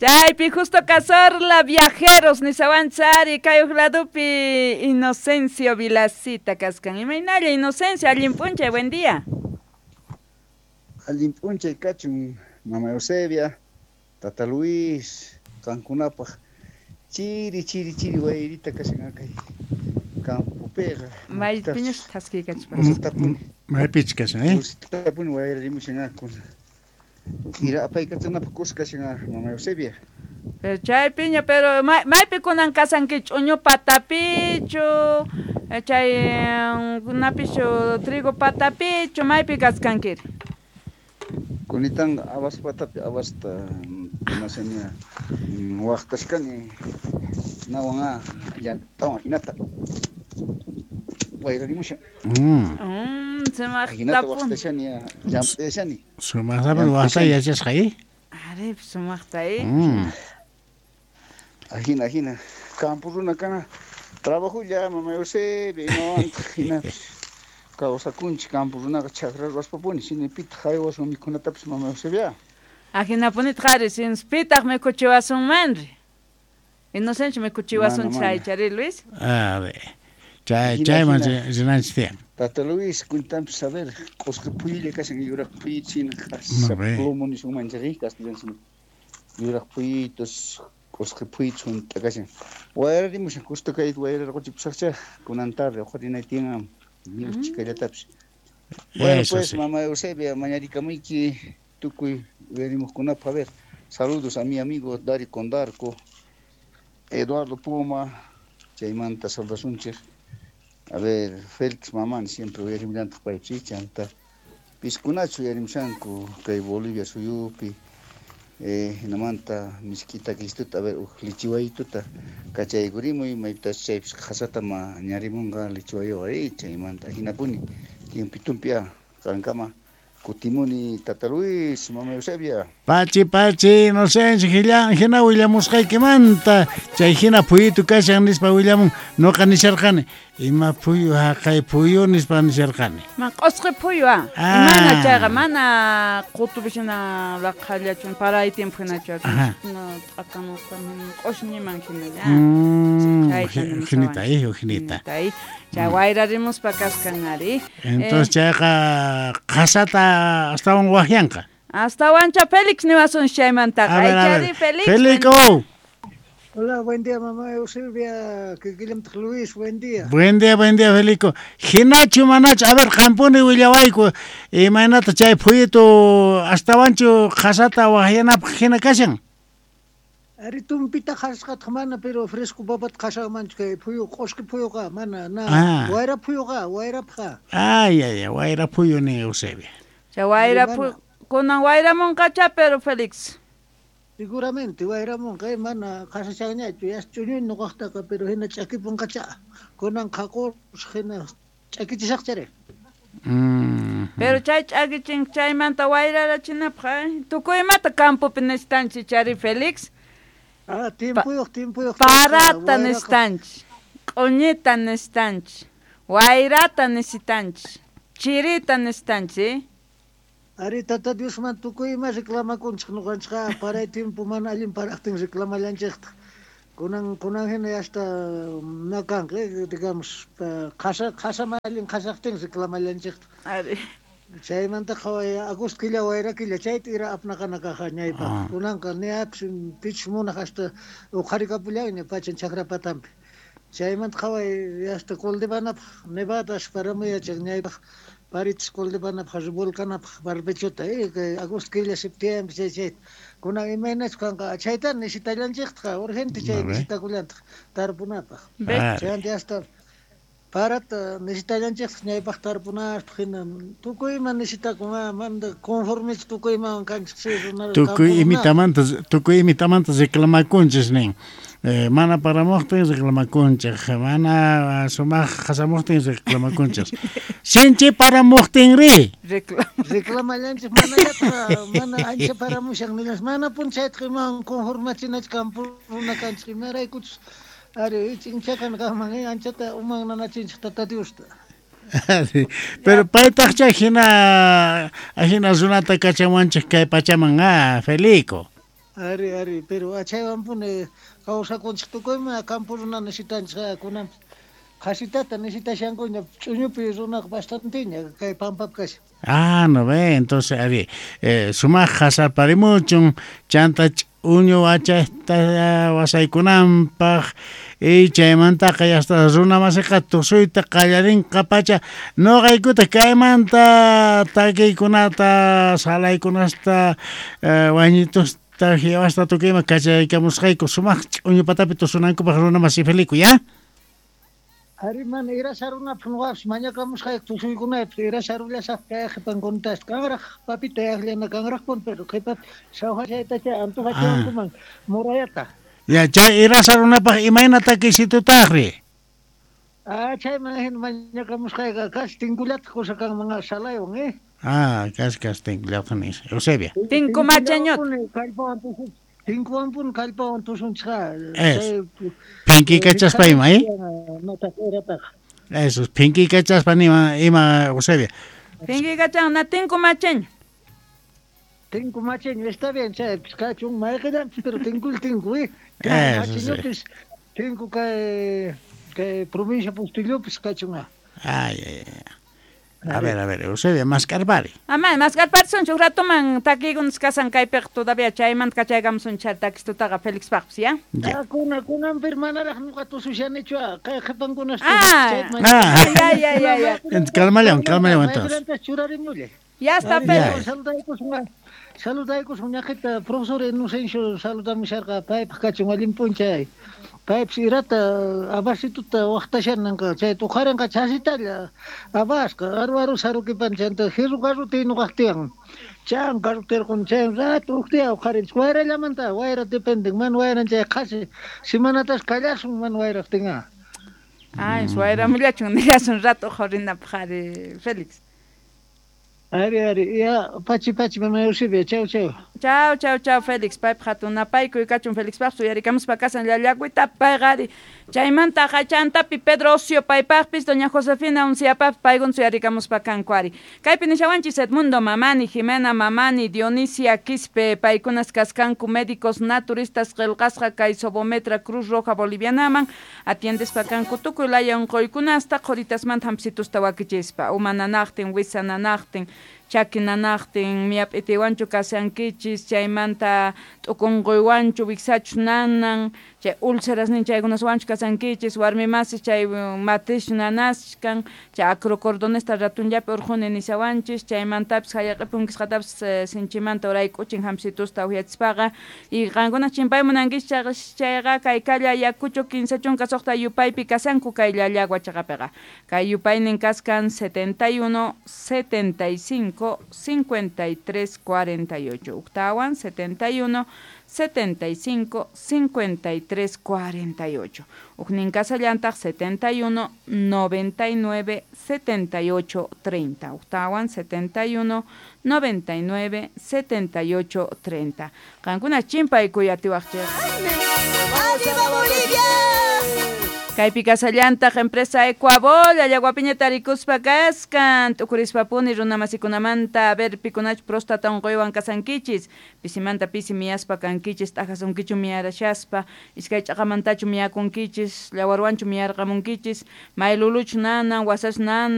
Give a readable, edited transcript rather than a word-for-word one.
Chaypi Justo Cazorla, viajeros nisawanchari kay uj ladupi Inocencio Vilacita kaskan. Imaynalla Inocencio, allin p'unchay, buen día. Allin p'unchay kachun, mama Eusebia, tata Luis, qankunapaq chiri chiri chiri wayrita kashan kay campopiqa. Maypiñas thaskiykachpa. Maypich kashan, eh? Tapuni wayrarimushan kuna. Ira apaykachanapaq kusa kashan mama Eusebia. Pero chaypiña, pero maypi kunan kasanki ch'uñu patapichu, chay kunapichu trigo patapichu, maypi kaskankiri? Kunitanqa habas patapi habasta imashaña waqtashkani nawan llantawan hinata wayrarimushan. Sumaqta Hinata waqtashani llamp'ashani. Sumaqtapas waqtay yachasqa, eh? Ari, sumaqta, eh? Ajina, ajina. Campo runa kana trabajulla mama Eusebia imawantaq hinapis kawsakunchik campo runaqa chakra ruwaspapuni sinipitaq haywasun mikhunatapis mama Eusebia. Ajinapunitaq ari, sinspitaq mikhuchiwasunmanri. Inocencio mikhuchiwasun Mana, mana. chaychari, Luis. A ver. Chay Hina, chayman hina. rinanchis tiyan. Tata Luis, kuntanpis a ver, q'usqi phuyulla kashan yuraq phuyutus hina q'asa Mare. plomo nisunmanchik castellano simipi. Yuraq phuyutus, q'usqi phuyutus hunt'a kashan. Wayrarimushan justo kay wayrarquchipusaqcha kunan tarde uqarinay tiyan ni uchkallatapis. Bueno, Eso pues sí. mamá Eusebia, mañarikamuyki tukuy uyarimuqkunapaq, a ver, saludos a mi amigo Dario Condarco, Eduardo Puma, chaymanta saludasunchik. A ver, Félix Mamán siempre uyarimllantaq paypi chanta piskunachu uyarimushanku kay Bolivia suyupi hinamanta misk'ita Cristuta, a ver, uj lichiwaytuta kachaykurimuy maypitas chaypis qhasata mañarimunqa lichiwayuqa chaymanta hinapuni tiempitumpi qankama kutimuni tata Luis, mama Eusebia. Pachi, pachi, Inocencio, hina willamusqaykimanta, chay hina phuyutu kashan nispa willamun, noqa nisharqani, ima phuyu haqay phuyu nispa nisharqani. Ma q'usqi phuyu, ah. Ah. Mana chayqa, mana qutupi hina laqhallachun, paray tiempo hinachu, Ajá. t'aqamuspa, q'ushñiman hinalla. Chayta nimushawan. Hinita, hinita. Hinita, Chay wayrarimuspa kaskan ari. Entonces chayqa qhasata astawan waqyanqa. Astawancha Félix niwasun chaymantaqa. A ver, a Aychari, ver. Félix. Félix, oh. Hola, buen día, mamá Eusebia, kikillamtaq Luis, buen día. Buen día, Felico. Hinachu, manachu, a ver, qampuni willawayku, imaynata chay phuyutu astawanchu qhasata waqyanapaq hina kashan? Ari tumpita qhasqataq mana, pero fresco papata qhasanmanchu kay phuyu, q'usqi phuyuqa, mana, na, Ah. wayra phuyuqa, wayrapqa. Ay, ay, ay, wayra phuyu nin Eusebia. Chay wayra Mana. phuyu, kunan wayramunqacha, pero Félix. Seguramente wayramunqa, mana qhasachanñachu, yas ch'uñuy nuqaqtaqa, pero hina ch'akipunqacha. Kunan qhaqusaq hina ch'akichisaqchari. Pero chay ch'akichin chaymanta wayrarachinapaq, tukuy imata campopi necesitanchik chari, Félix. Ah, tiempuyuq, tiempuyuq. Parata Wayraqa. necesitanchik, q'uñita necesitanchik, wayrata necesitanchik, chirita necesitanchik. Ari tata Diosman tukuy ima reclamakunchik nuqanchikqa, paray tiempo mana allin paraqtin reclamallanchiktaq. Kunan, kunan hina hasta na kanqa, digamos, qhasa, qhasa mana allin qhasaqtin reclamallanchiktaq. Ari. Chaymanta qhaway agosto killa wayra killa chayta ira apnaqana kaqa ñaypaq. Ah. Kunanqa ni apis pichus munaq hasta uqharikapullanña pachan chakra patampi. Chaymanta qhaway hasta cultivanapaq nevadas paramuyachaq ñaypaq parichis cultivanapaq volcanapaq barbechota, kay agosto killa septiembre chay chayta. Kunan imaynachu kanqa chayta necesitallanchiktaq urgente chay A ver. necesitakullantaq tarpunapaq. Ah. Chaymanta hasta parata necesitallanchiktaq ñaypaq tarpunapaq hina tukuy ima necesitakun, manda conformechu tukuy imawan kanchik sí, runa Tukuy campo runa. imitamanta, tukuy imitamanta reclamakunchis nin. Mana paramuqtin reclamakunchik, mana sumaq qasamuqtin reclamakunchis. Sinchi paramuqtin ri. Reclamallanchik manallataq mana ancha paramushan nillas, mana punchaytaq imawan conformachinachu campo runa kanchik imaraykuchus ari ich'inchakan kaqman, anchata uman nanachinchik tata Diosta. Pero paytaqcha hina, hina runata kachawanchik kay pachaman, Felico. Ari, ari, pero achaywanpuni kawsakunchik tukuyma campo runa necesitanchik kunanpis qhasitata necesitashankuña ch'uñupi runaqa bastanteña kay pampapi kashan. Ah, no ve, entonces, ari, sumaq qhasarparimuchun, chanta ch'uñu wachayta wasaykunanpaq, y chaymantaqa yasta runa masiqa tusuyta qallarinqa pacha, noqaykuta kaymanta takiykunata, salaykunasta, wañitusta, jiwasta tukuyma kachaykamusqayku sumaq ch'uñu patapi tusunankupaq runa masi Felico, ¿ya? Ari mana ira sarunapaq nuqapis mañakamusqayku tusuykunaypaq ira sarullasaq kay qhipankunata kanraq papita yaqllana kanraqpuni pero qhipapi sawhachaytacha antojachiwankuman murayata. Ya, chay ira sarunapaq imayna takiysitutaqri? Ah, chayman hina mañakamusqayqa casi tinkullataq kusa kanman salaywan, eh? Ah, casi casi tinkullataq nis. Eusebia. Tinku machañot. Kallpawan tusun. Tinkuwanpuni kallpawan tusunchikqa. Eso. Phinkikachaspa ima, eh? Eso, phinkikachaspa nima ima Eusebia. Phinkikachan na tinku machaño. Tinku machaño, está bien, chay, kachun mayqillanpis, pero tinkul tinku, eh? Eso, sí. Machañopis, tinku kay kay provincia Postillopis kachun. Ay, ay, ay. A ver, Eusebia, mascarpari. Ama, mascarpari son huk ratoman takiykunas kasan kaypiqa todavía chaymanta kachaykamusun chay takistutaqa Félix paqpis, ya? Ya. Ah, kunan pir manaraq nuqa tusushanichu, kay qhipankunas Ah. Ah. Ya, ya, ya, ya. Calmallawan, calmallawan entonces. Mayqillantas churarimullay. Ya está, Ya. Félix. Saludaykusun, saludaykusun ñaqita profesor Inocencio saludamusharqa paypaq kachun allin p'unchay. Paypis irata abasituta waqtashananqa chay tuqarinqa chasitalla abasqa aru aru sarukipan chanta jirru carruti nuqaq tiyan. Chan carrutirqun chay rato uqtiya uqarinchik wayrallamanta wayra dependen man wayran chay qhasi semanatas kallasun man wayraqtinqa. Ay, wayramullachun nillasun rato uqarinapaq ari Félix. Ari, ari, ya, pachi, pachi, mamá Eusebia, chau, chau. Chau, chau, chau, Félix, paypaq hatun napaykuy kachun Félix paq suyarikamuspa kasan llallakuyta payqa ari. Chaymanta hachantapi Pedro Ocio paypaqpis, doña Josefina Unciapaq paykun suyarikamuspa kanku ari. Kaypi nishawanchis Edmundo Mamani, Jimena Mamani, Dionisia Quispe, paykunas kaskanku médicos naturistas qillqasqa kay Sobometra Cruz Roja Bolivianaman, atiendespa kanku tukuy laya unquykunasta qhuritasmanta hampsitusta wakichispa, uma nanaqtin, wisa nanaqtin, chaki nanaqtin, miyap'itiwanchu kashankichis, chaymanta t'ukunquywanchu, wiksachus nanan, chay úlceras nin chaykunaswanchu kashankichis, warmi masis chay matriz nanaskan, chay acrocordonesta ratunllapi urquni nishawanchis, chaymantapis hayaq'ipunkisqatapis sinchimanta urayk'uchin hampsitusta uhyachispaqa, y qankuna chimpay munankichis chayqa kay kalla Ayacucho 16 yupaypi kasanku kay Llallagua chaqapiqa. Kay yupaynin kaskan 71, 75, 53, 48. Uktawan 71, 75, 53, 48. Uknin kasallantaq 71, 99, 78, 30. Uktawan 71, 99, 78, 30. Qankuna chimpay kuyatiwaqchik. ¡Arriba Bolivia! Kaypi kasallantaq empresa Ecuabol, Llallaguapiña tarikuspa kaskan, t'ukurispapuni runa masikunamanta, a ver pikunachu próstata unquywan kasankichis, pisimanta pisi miyaspa kankichis, t'ajasunkichu miyarashaspa, iskay ch'aqamantachu miyakunkichis, llawarwanchu miyarqamunkichis, mayluluchu nanan, wasachu nanan.